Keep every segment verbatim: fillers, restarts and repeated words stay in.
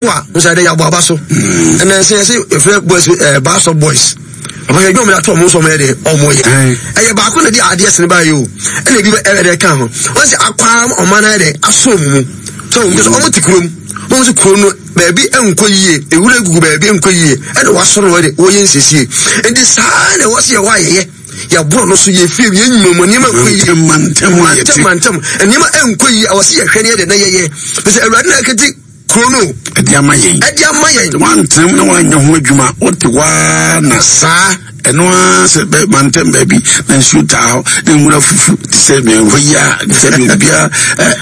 A nso yɛde yɛabɔ aba so. Ɛnna ɛsɛ yɛsɛ yɛfrɛ boys ɛɛ baasɔ boys. Papa, yɛ dwom ato ɔmo nso, ɔmo yɛ de ɔmo yɛ. Ɛyɛ baako na de adeɛ sene baa yi o, ɛna ebi ɛyɛ de ka ho. Wɔn sɛ akwaa ɔman ayɛ de aso ɔmo mu. So ɔmo sɛ ɔmo te kurom. Wɔn sɛ kuro no baabi nkɔ yie, ewura gugu baabi nkɔ yie, ɛna wasɔrɔ wɔ de wɔyɛ nsiesie. Nti saa na ɛwɔ sɛ yɛwɔ ayɛyɛ. Yɛborɔ no so, yɛ fie, yɛ nnwuma mu nneɛma nkɔ yie. Mantam a yɛte. Mantam nneɛma nkɔ yie, ɛwɔ sɛ yɛhwɛ ne yɛ de na yɛyɛ. Sɛ Awurade na ɛkete kuro no. Ɛde ama yɛn. Ɛde ama yɛn. Wantenam na wanyɛ ho adwuma, wote waa na saa. Ɛno ara sɛ bɛ mantam baabi na nsuo taa hɔ na nwura fufu te sɛ hɔ yi a, te sɛ deɛ obiara ɛ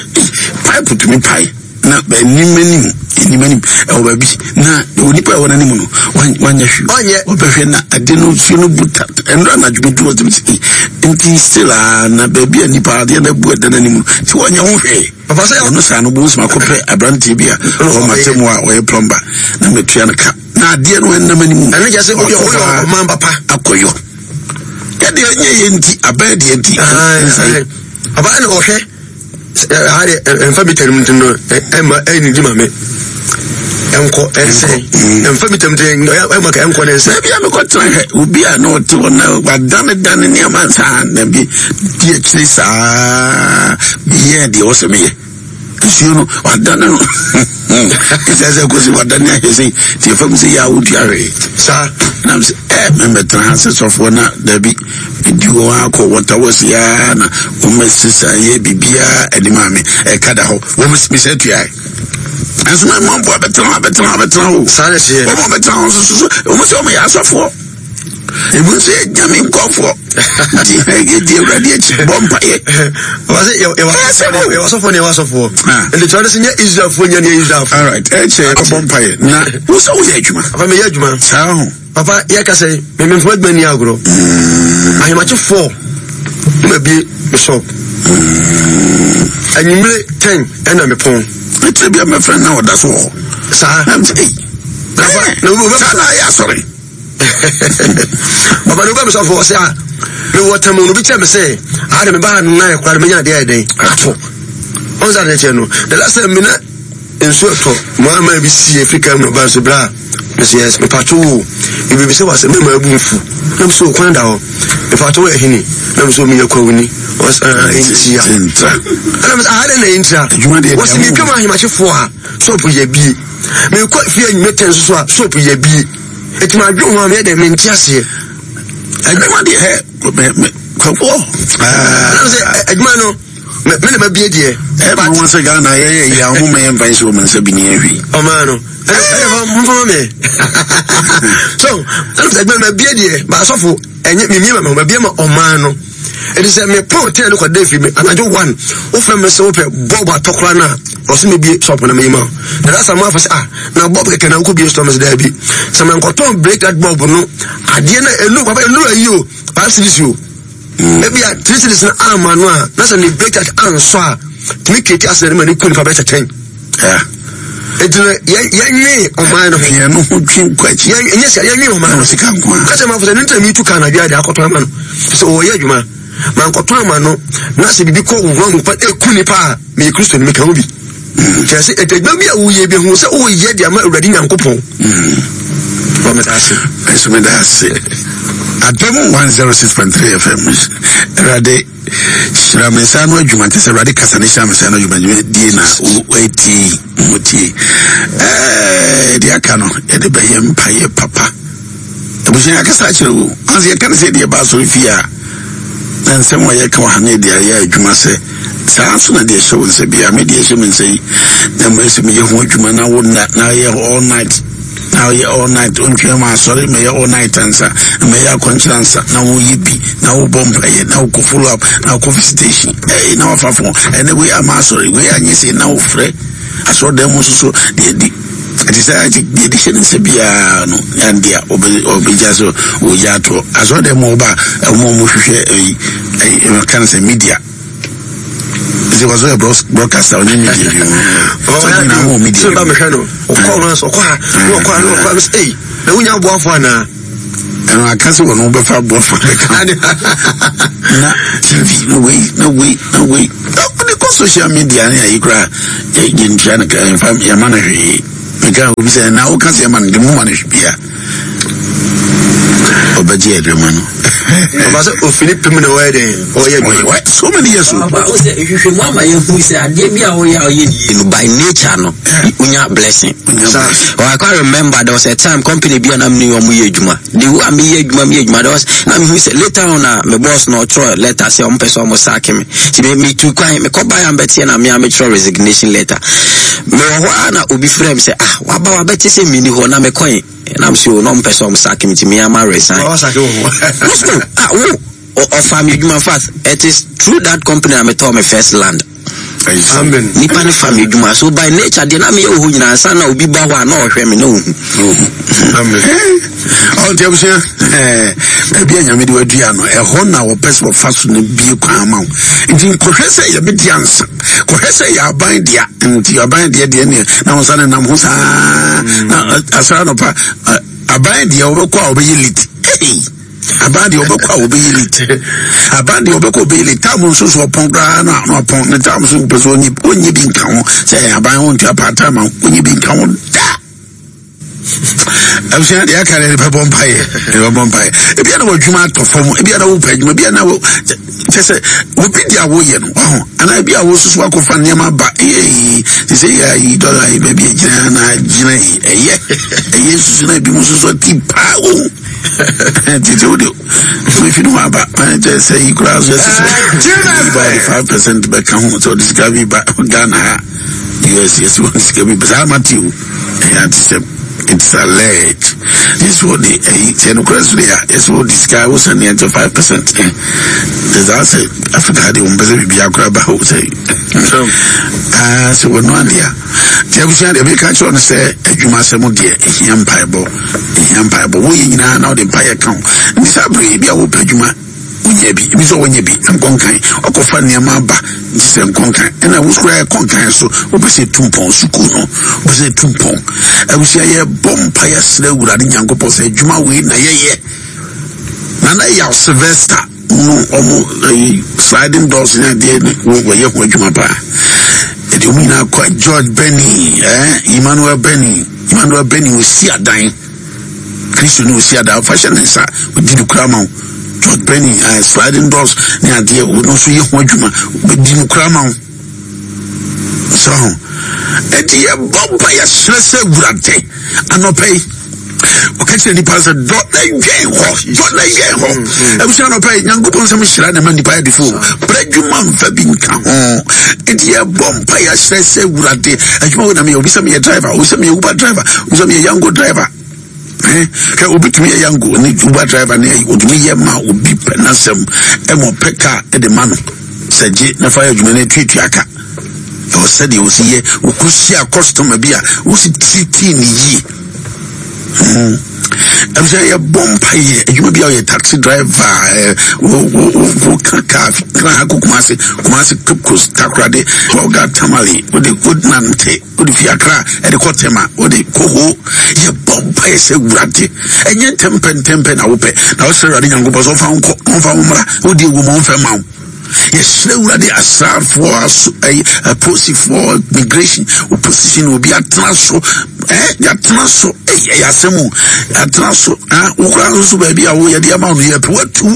pipe tumi pae na anim anim anim anim ɛwɔ baabi na onipa a ɛwɔ n'anim no wanyɛ hwee. Ɔnyɛ. Ɔbɛhwɛ na ade no, nsuo no bu ta. Ɛnura anadwo bi duro ɔtumi sɛ nti still a na baabi a nipa adeɛ na abu ɛda n'anim no nti wɔnyɛ ho hwee. Papa, sɛ ɛno saa no bó nsɛm akɔpɛ aberanteɛ bi a ɔwɔ matam a ɔyɛ plumber na mɛtua no ka na adeɛ no ɛnam anim. Ɛno kyerɛ sɛ woyɛ woyɛ ɔman papa. Akɔyɔ yɛdeɛ ɛnyɛ yɛ nti abɛn deɛ nti. Papa, ɛna ɔhwɛ ha de ɛmfa bi tɛnum nti no ɛma ɛne di ma me ɛnkɔ ɛnsɛn ɛmfa bi tɛnum nti ɛma ka ɛnkɔ ne nsɛn. Baabi a mekɔtena hwɛ obi a na ɔte hɔ na wadane dane nneɛma saa na bi di akyire saa meyɛɛ deɛ ɔsɛ meyɛ nsuo no wadane no ɛsɛ sɛ kɔsi wadane ahwɛ sɛ nti ɛfa mu sɛ yɛ a wotua hwee. Saa. Nam sɛ ɛ mɛmɛtena ha sɛ sɔfoɔ na dabi medi hɔ akɔ wɔtawɔsi a na wɔmɛsesa yɛ biribiaa anim a me ɛka da hɔ wɔm mesɛ tuae ɛnso mɛmamboa bɛtena hɔ bɛtena hɔ bɛtena hɔ. Saa na ɛteɛ. Wɔn a bɛtena hɔ nso so wɔn sɛ wɔn yɛ asɔfoɔ, ebi nso yɛ Nyame nkɔfoɔ nti yɛdi Awurade akyi bɔ mpayɛ. Papa, sɛ yɛwɔ yɛwɔ asɔfoɔ ne yɛwɔ asɔfoɔ. Ah. Nti kyerɛ sɛ nyɛ Israelfoɔ nyɛ ne yɛ Israelfoɔ. Alright, ɛkyɛ yɛkɔbɔ mpayɛ na wo sɛ woyɛ adwuma. Papa, meyɛ adwuma. Saa ho. Papa, yɛka sɛ mememfo adwuma ni agorɔ. Ahemakye four ne mabie me shop, anwummere ten ɛna mepɔn. Ɛkyerɛ bi a mɛfrɛ na ɔda so wɔ hɔ. Saa. Na mesɛ ei. Papa, na wo- wo- saa na ayɛ asɔre. Papa, ne wobɛ me sɔfo wɔ sɛ a mewɔ tam no bi kyerɛ me sɛ ade mebaa no na ɛkora no menya adeɛ ayɛ dɛn ato ɔn sɛ adeɛ kyerɛ no. The last time mena nsuo ɛtɔ maa maa bi sie firi kam no ba nso berɛ a mese yes, mepatwo wo biribi sɛ wasɛ mɛma abu mfu na mesɛ kwan da hɔ, mepatwo wo ahini na mesɛ meyɛ kwawuni ɛntia. Ntra. Ɛna mesɛ aha dɛn na ɛntira. Adwuma deɛ wɔsɛ deɛ metwam ahemakyefoɔ a shop yɛ bie, mekɔ fie anwumɛ tɛn so so a shop yɛ bie, ɛtumi adwe ho a meyɛ dɛn mente aseɛ. Adwuma deɛ hɛ mɛ mɛ kɔkɔ. Ɛna mesɛ ɛ- adwuma no me me na mabie deɛ. Ɛma wɔn sɛ Ghana yɛyɛ yi a wɔn mɛ yɛn mfa nhyɛ wɔn nsa bi ne yɛn hwee. Ɔmaa no ɛna ɛna fa mfama me so ɛna mesɛ adwuma no mabie deɛ baasɔfo ɛnyɛ memie ma me ho, mabie ma ɔmaa no. Ɛti sɛ mepɔn ten no kɔda firi me anadwo one, wofrɛ me sɛ wopɛ bulb atɔ koraa no a, ɔsɛ mebie shop na meyi ma wo. Na da sa maafo sɛ ah, na bulb kɛkɛ na wokɔ bie store? Me sɛ daabi, sɛ mankɔtɔn break that bulb no adeɛ no ɛnu papa ɛnu ayi o five cedis o, ebi a three cedis no ama no a, na sɛ ne break that ansɔ a tumi kete asɛ ne ma ne ku nipa bɛyɛ kyɛkyɛn. Yeah. Eti no yɛn yɛnwe ɔman no ho. Yɛn no ho twe nkɔ akyi. Yɛn ɛnyɛ sɛ yɛnwe ɔman no. Na sika nko a. Kasa ma fo sɛ ne ntɛm yi tu kaa anadwo ade akɔtɔ ama no sɛ ɔyɛ adwuma ma nkɔtɔ ama no na sɛ biribi kɔ wura mu pa eku nipa a, meyɛ Kristo no meka ho bi. Kyerɛ sɛ ɛtɛ adwuma bi a woyɛ bi hu sɛ woyɛ de ama Awurade Nyankopɔn. Wɔ meda ase. Ɛnso meda ase. Adom one zero six point three F M. Awurade hyira me nsa no adwuma nkyɛ sɛ Awurade kasa ne hyira me nsa no adwuma die na woatie motie. Ɛɛ, deɛ aka no yɛde bɛyɛ mpayɛ papa. Abusua, yɛakasa akyerɛ wo anse yɛka no sɛ deɛ ɛba asɔre fie a na nsɛm a yɛka wɔ ha no yɛde ayɛ adwuma sɛ saa nso na deɛ ɛhyɛ wo nsa bia me deɛ ɛhyɛ me nsa yi na mmɛ sɛ meyɛ ho adwuma na wo nna na yɛ all night na ɔyɛ all night ɔntwɛn ma asɔre mɛyɛ all night ansa na mɛyɛ akɔnkyerɛ ansa na woyɛ bi na wobɔ mpayɛ na wokɔ follow up na wokɔ visitation ɛyi na wafa fo ɛnɛ wei ama asɔre wei anyɛ sei na wofrɛ asɔre dan mu nso so deɛ di ɛte sɛ ɛte deɛ de hyɛ ne nsa biara no ɛnde a ɔbɛgya so ɔgya atoɔ asɔre dan mu ɔba a ɔmo a ɔmo hwehwɛ ɛyi ɛyi ɛka no sɛ media sɛ wɔsɔ yɛ broadcaster ɔnyɛ media bi mu sɛ ɔmo nyinaa wɔ media. Sɛ ba mehwɛ no ɔkɔ no ɔkɔ ha na ɔkɔ ha na ɔkɔ ha sɛ ei, na wonya aboafo anaa? Ɛno aka sɛ wɔn bɛfa aboafo bɛka na T V na wei na wei na wei ɔde kɔ social media ne ayi koraa yɛ yɛntua no ka yɛmfa yɛma no hwee. Meka obi sɛ na woka sɛ ɛma no de moma no hwe bia ɔbɛgye adwuma no. Ɔba sɛ ofini pem na ɔyɛ dɛn ɔyɛ adwuma. So many years o. Ɔba o sɛ ehwehwɛ mu ama yɛn hu sɛ adeɛ bi a ɔyɛ a ɔyɛ yie no, by nature no wonya blessing. Oh, I can remember there was a time company bi a na mi ni wɔn yɛ adwuma, the way a mi yɛ adwuma mi yɛ adwuma, there was na mi hu sɛ later on na my boss na ɔtwerɛ letter sɛ ɔmo pɛ sɛ ɔmo sack mi, ti mi mi tu kwan mi kɔ ba yan bɛteɛ na mi a mi twerɛ resignation letter. Mi wɔ hɔ a na obi frɛ mi sɛ, ah, waba wabɛte sɛ mi ni hɔ na mi kɔ yi na mi sɛ o na ɔmo pɛ sɛ ɔmo sack mi, ti mi ama resign. Ɔwɔ sack wɔ hɔ. Ah, wo ɔfa mi adwuma fast. It is through that company a mi tɔ mi first land. Amen. Nipa ne fa mi adwuma, so by nature deɛ na mi yɛ wɔ hɔ nyinaa nsa na obi ba hɔ a na ɔhwɛ mi na ohu. Amen. Ɔnti abusua, baabi a Nyame de wadua no, ɛhɔ na wɔpɛ sɛ wɔfa so no bie kwan ma wo. Nti nkɔhwɛ sɛ yɛbɛdi ansa, kɔhwɛ sɛ yɛ aban dea. Nti aban deɛ deɛ neɛ na wo nsa ne nam ho saa na asra nɔpa aban deɛ wɔbɛkɔ a wɔbɛyɛ late. Aban deɛ wɔbɛkɔ a wɔbɛyɛ late, aban deɛ wɔbɛkɔ wɔbɛyɛ late. Tam nso so ɔpɔn koraa na ɔpɔn ne tam so pɛ sɛ ɔnye ɔnye bi nka ho sɛ aban ho ntua part time a ɔnye bi nka ho da. Abusua deɛ aka deɛ bɛbɔ mpaeɛ, bɛbɔ mpaeɛ. Ebi a na wɔadwuma atɔ fam, ebi a na wɔpɛ adwuma, ebi a na wɔ kyɛ sɛ obi di a wɔyɛ no waho, anaa ebi a wɔsoso akɔfa nneɛma ba ee te sɛ yɛ ayi dɔla yi baabi egyina na gyina yi ɛyɛ ɛyɛ susu na ebi mu soso ti paa o tete o de mefi no aba kyɛ sɛ yi koraa so ɛsɛ sɛ ba ɔde five percent bɛka ho sɛ ɔde sika bi ba Ghana ha U S, yɛsɛ wɔde sika bi ba saa ama te o ɛyɛ ate sɛ it's alleged this one de ɛyi sɛ nokora so de a yɛsɛ wɔde sika wosan ne ɛnkyɛ five percent ɛ ɛsɛ sɛ Africa de wɔn pɛ sɛ biribi akora ba hɔ sɛ aa sɛ wɔn adeɛ a nti abusua deɛ bɛka kyerɛ no sɛ adwuma asɛm deɛ ɛhia mpaebɔ, ɛhia mpaebɔ. Woyɛ nyinaa na wode mpaeɛ ka ho. Nti saa bere bi a wopɛ adwuma wonyɛ bi, ebi sɛ wɔnyɛ bi nkɔnkan ɔkɔfa nneɛma aba nti sɛ nkɔnkan ɛna wosukura yɛ kɔnkan so wopɛ sɛ tu mpɔn sukuu no, wopɛ sɛ tu mpɔn. Abusua, yɛbɔ mpaeɛ srɛ Awurade Nyankopɔn sɛ adwuma wei na yɛyɛ. Nana Yaw Sylvester no, ɔmo ɛyi sliding doors ne adeɛ ne wɔyɛ ho adwuma paa. Ɛde ɔmo nyinaa kɔ George Benny, ɛɛ Emmanuel Benny, Emmanuel Benny osi adan, Kristo ne osi adan fa hyɛ ne nsa odi ne kura ma wo. George Benny, ɛɛ sliding doors ne adeɛ, ɔno nso yɛ ho adwuma, ɔbɛdi ne kura ma wo. So ɛdi yɛ bɔ mpa yɛ srɛ sɛ Awurade anɔpɛ yi ɔka kyerɛ nipa sɛ dɔ na dwɛn hɔ, dɔ na dwɛn hɔ. Abusua, anɔpɛ yi Nyankopɔn nsɛm hyira ne ma nipa yɛ defo brɛ adwuma mfa bi nka ho. Nti yɛbɔ mpa yɛ srɛ sɛ Awurade adwuma wo na meyɛ. Obi sɛ meyɛ driver, obi sɛ meyɛ Uber driver, obi sɛ meyɛ Yango driver. Hwɛ, obi tumi yɛ Yango ne Uber driver ne otumi yɛ ma obi pɛ n'asɛm ɛma ɔpɛ kaa ɛde ma no sɛ gye na fa yɛ adwuma no atuatua ka. Ɛwɔ sɛdeɛ wɔsi yɛ wɔkɔhyia customer bi a wɔsi titii ne yie. Ɛfisɛ yɛbɔ mpa yɛ adwuma bi a ɔyɛ taxi driver, ɛ wo wo wo ka kaa kra ha kɔ Kumase, Kumase, Cape Coast, Takoradi, Bolga, Tamale, wode wonante wode fi Akra ɛde kɔ Tema, wode kɔ ho. Yɛbɔ mpa yɛ sɛ Awurade ɛnyɛ ntɛmpɛ ntɛmpɛ na wopɛ na wosrɛ Awurade Nyankopɔn sɛ ɔmfa wo nkɔ, ɔmfa wo mmra. Wode ewu ma ɔmfɛ ma wo. Yɛsrɛ Awurade asraafoɔ aso ɛyi apolisifoɔ, immigration opposition, obi atena so ɛɛ yɛatena so ɛyɛ ɛyɛ asɛm o yɛatena so ah wokora nso baabi a woyɛ de ama wo no yɛpɛ watu ne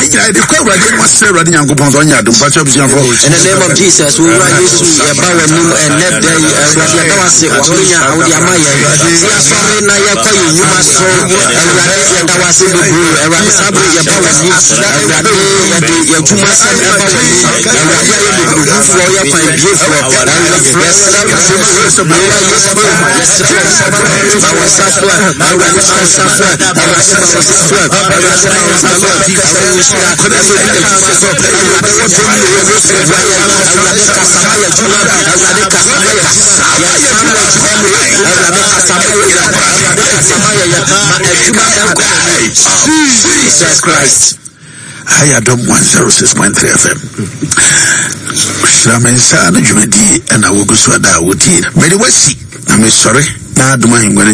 nyinaa yɛde kɔ Awurade anim asrɛ Awurade Nyankopɔn sɛ ɔnyɛ adom fakyɛ abusuafoɔ. In the name of Jesus, Owura Yesu, yɛba w'anim ɛnɛ da yi. Awurade, yɛda wase w'akonya a wode ama yɛn. Sɛ yɛasɔre na yɛkɔ yɛn nnwuma so, Awurade, yɛda wase bebree. Awurade, saa bere yɛba w'anim. Awurade, yɛde yɛn adwumasɛm ɛba w'anim. Awurade, ayɛ bebree yɛ kwan biefoɔ. Awurade, yɛsrɛ wo sɛ Owura Yesu, yɛsrɛ wo ma wo nsa so. Awurade, ma wo nsa so. Awurade, ma wo nsa so. Awurade, ma wo nsa so. Awurade, nhyira ɛsɛ obi adwuma so. Awurade, wɔ dɔm ne wɔ Yesu boa yɛn. Awurade, kasa ma yɛ adwuma. Awurade, kasa ma yɛ adwuma. Yɛnsa wɔ adwuma mu. Awurade, kasa ma yɛ. Awurade, kasa ma yɛ yɛ ma adwuma ɛnkɔ n'anim. Jesus Christ. Ayɛ Adom one oh six point three F M hyira me nsa no dwumadie ɛna wogu so ada a wotie. Mede wasi na mesɔre na adom ahengua no.